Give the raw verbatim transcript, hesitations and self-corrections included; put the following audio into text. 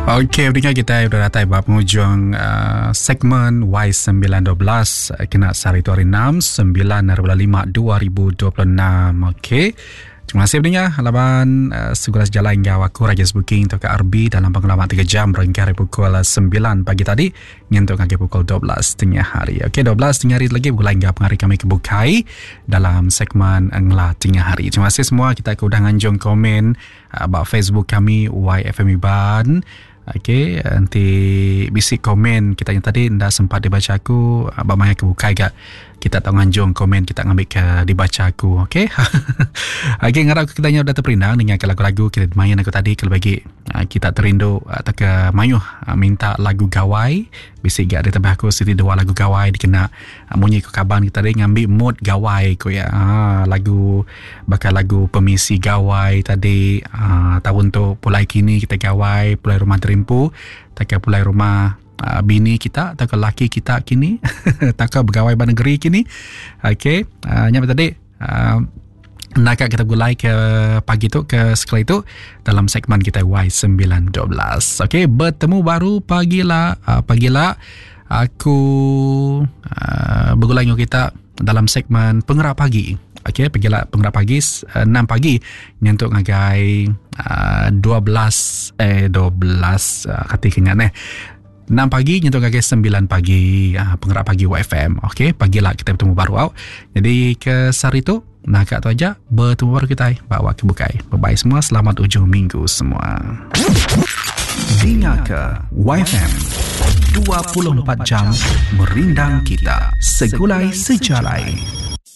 Okey, pendengar kita udah datai ba pengujung uh, segmen Y sembilan dua belas kena sehari tu hari enam, sembilan hari bulan lima dua ribu dua puluh enam. Okey. Terima kasih pendengar laban uh, segala sejalan hingga aku Raja Booking atau K R B dalam pengalaman tiga jam berengkah dari pukul sembilan pagi tadi nyentuk ngagai pukul dua belas tengah hari. Okey, dua belas tengah hari lagi pukul hingga penghari kami kebukai dalam segmen Ngela Tengah Hari. Terima kasih semua kita ke udah nganjung komen uh, ba Facebook kami Y F M Iban. Okey, nanti bisi komen kita yang tadi nda sempat dibaca aku, abang maya kebukai gak kita tak nganjung komen kita ngambil ke dibaca aku, okey. Okey, ngarap kita nya udah terperindang dengan lagu-lagu kita main aku tadi. Kalau bagi kita terindu atau ke mayuh minta lagu gawai, bisi gak ada tambah aku siti dua lagu gawai dikena munyi ke kaban kita tadi ngambil mood gawai ko ya. Ha, lagu bakal lagu pemisi gawai tadi, ha, tahun tu pulai kini kita gawai, pulai rumah terimpu, tak pulai rumah Uh, bini kita atau ke laki kita kini tak ke pegawai ban negeri kini. Okey, uh, nyampe tadi, uh, nak kita gulai ke pagi tu ke sekali tu dalam segmen kita Y sembilan dua belas. Okey, bertemu baru pagilah, uh, pagilah aku, uh, bergulai dengan kita dalam segmen Pengerak Pagi. Okey, pagilah Pengerak Pagi, uh, enam pagi nyentuk ngagai, uh, dua belas, eh, dua belas, uh, kati kenyan eh. enam pagi nyentuh ngagai sembilan pagi, ah, Pengerak Pagi Y F M. Okey, pagilah kita bertemu baru au. Jadi ke sehari tu nah kat tu aja bertemu baru kita bawa ke bukai. Bye bye semua, selamat ujung minggu semua. Dengar ke Y F M dua puluh empat jam merindang kita segulai sejalai.